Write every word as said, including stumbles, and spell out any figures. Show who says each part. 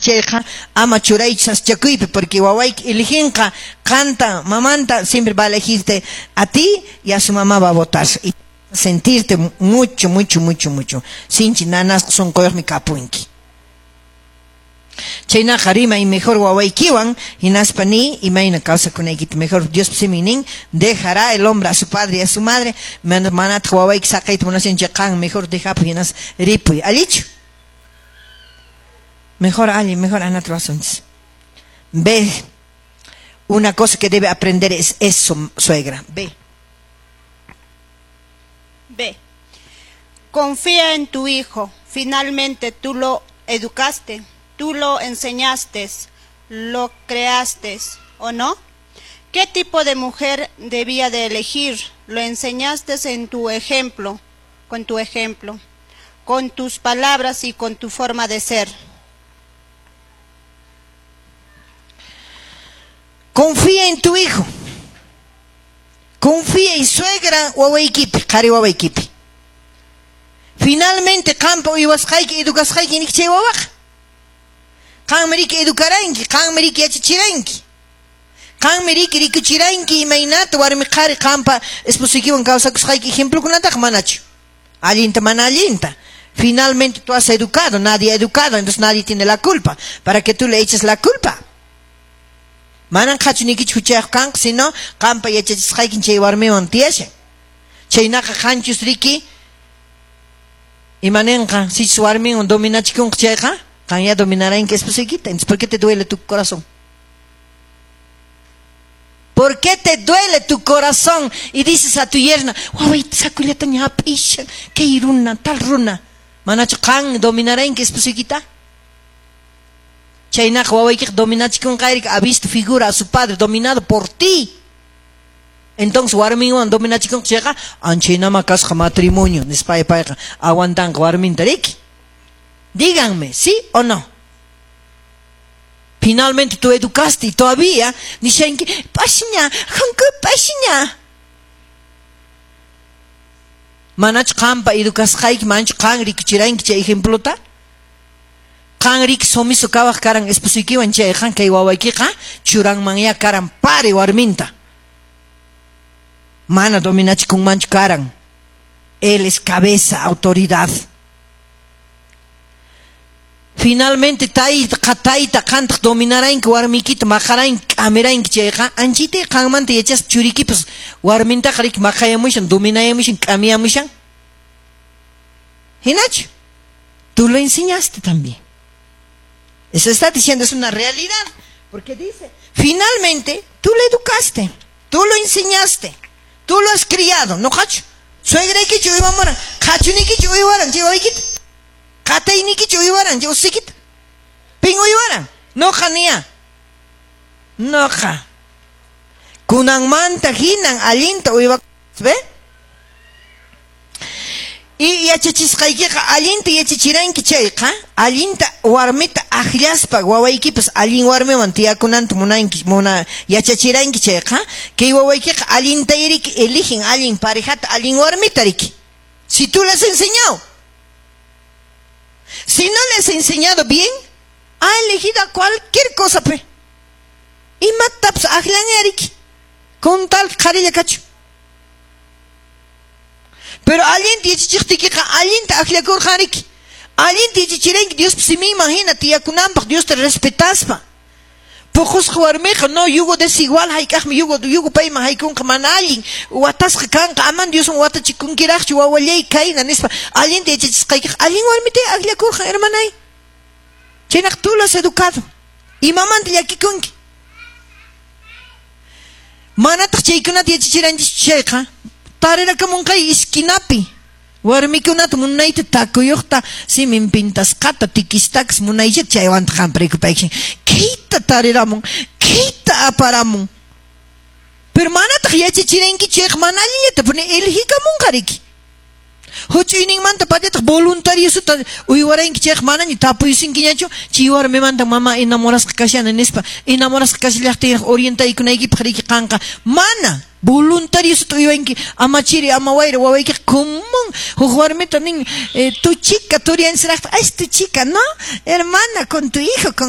Speaker 1: chayqa ama churaychu sasachakuypi, porque wawayki eliginqa qanta, mamanta, siempre va a elegirte a ti y a su mamá va a votar. Y sentirte mucho, mucho, mucho, mucho. Sinchi nanasqa sunquyuqmi kapunki. Chaynaqa rimay mejor wawaykiwan hinaspa ni imayna kawsakunaykita mejor. Dios simin nin: dejará el hombre a su padre y a su madre. Manataq wawayki saqayta munashan chay, qan mejor dejapuy, hinas ripuy. Allichu? Mejor alli, mejor anata ruwasunchis. Ve, una cosa que debe aprender es eso, suegra. Ve.
Speaker 2: B. Confía en tu hijo. Finalmente tú lo educaste, tú lo enseñaste, lo creaste, ¿o no? ¿Qué tipo de mujer debía de elegir? Lo enseñaste en tu ejemplo, con tu ejemplo, con tus palabras y con tu forma de ser.
Speaker 1: Confía en tu hijo. Confía en suegra wawaykipi, qhari wawaykipi. Finalmente qampa uywasqayki, educasqayki nik chay wawaqa. Qanmi riki educaranki, qanmi riki yachachiranki. Qanmi riki rikuchiranki imaynata warmi qhari qampa esposuykiwan kawsakusqayki ejemplokunataqa manachu. Allinta mana allinta. Finalmente tú has educado, nadie ha educado, entonces nadie tiene la culpa. Para que tú le eches la culpa. Manan qhachunikichu huchayuq kanqa, sino qampa yachachisqaykin chay warmiwan tiyashan. Chaynaqa qanchus riki imanenqa, sichus warminwan dominachikunqa chayqa, qan ya dominaranki esposuykita. Entonces, ¿por qué te duele tu corazón? ¿Por qué te duele tu corazón? Y dices a tu yerna, wawayta sakullataña hap'ishan, kay runa, tal runa. Manachu qan dominaranki esposuykita? Chaynaqa wawaykiqa dominachikunqa, ha visto figura a su padre dominado por ti. Entonces warminwan dominachikunqa chayqa, anchaynama kasqa matrimonio, nispa payqa aguantanqa warminta riki. Díganme, ¿sí o no? Finalmente tú educaste y todavía nishanki, pashiña, hanku pashiña. Manachu qampa educasqayki, manachu qan rikuchiranki chay ejemplota? Qan riki sumiso kawaq karan esposuykiwan chayqa, kay wawaykiqa churanmanya karan pare warminta. Mana dominachikunmanchu karan. Él es cabeza, autoridad. Finalmente tayta qatayta qantaq dominaranki warmikita maqaranki k'amiranki chayqa, anchita qanmanta yachaspa churikipas warmintaqa riki maqayamushan, dominayamushan, k'amiyamushan. Hinachu, tú lo enseñaste también. Eso está diciendo, es una realidad. Porque dice, finalmente tú lo educaste, tú lo enseñaste, tú lo has criado, ¿no, qachu? Suegraykichu uywamuran, qhachunikichu uywaran chay wawaykita? Qataynikichu uywaran chay usuykita? Pin uywaran? Noqa niya. Noqa. Kunanmanta hinan allinta uywa, ¿ve? Y yachachisqaykiqa allinta yachachiranki chayqa, allinta warmita akllaspa wawaykipas allin warmiwan tiyakunanta munanki, muna yachachiranki chayqa, kay wawaykiqa allinta riki eligen allin parejata, allin warmita riki. Si tú le has enseñado. Si no le has enseñado bien, ha elegido a cualquier cosa, pe. Imatapas akllan riki. Con tal qharilla kachu. Pero allinta yachachiqtiykiqa allinta akllakurqan riki. Allinta yachachiranki Diospa siminman hina tiyakunanpaq, Diosta respetaspa. Puqusqa warmiqa no yugo desigual hayk'aqmi yugo yugo payman haykunqa mana allin watasqa kanqa, aman Dioswan watachikunkiraqchu wawallay kayna nispa. Allinta yachachisqaykiqa allin warmita akllakurqan, hermanay. Chaynaqa tú lo has educado. Imamanta llakikunki. Manataq chaykunata yachachiranchis chayqa, tarirakamunqay esquinapi warmikunata munayta takuyuqta simin pintasqata tikistakas munaychata chaywanta qampa rikupaykin kayta tariramun, kayta aparamun. Pero manataq yachachiranki chayqa mana allinllata puni eligikamunqa riki. Huch'uyninmanta patataq voluntariosota uywaranki chayqa manaña tapuyusinkiñachu chay warmimanta mama enamorasqa kashani nispa, enamorasqa kashallaqtinraq orientaykunaykipaq riki qanqa mana voluntariosota uywanki ama chiri ama wayra wawaykiqa común huk warmita nin eh, tu chica turiansiraqta, ay tu chica, no hermana, con tu hijo, con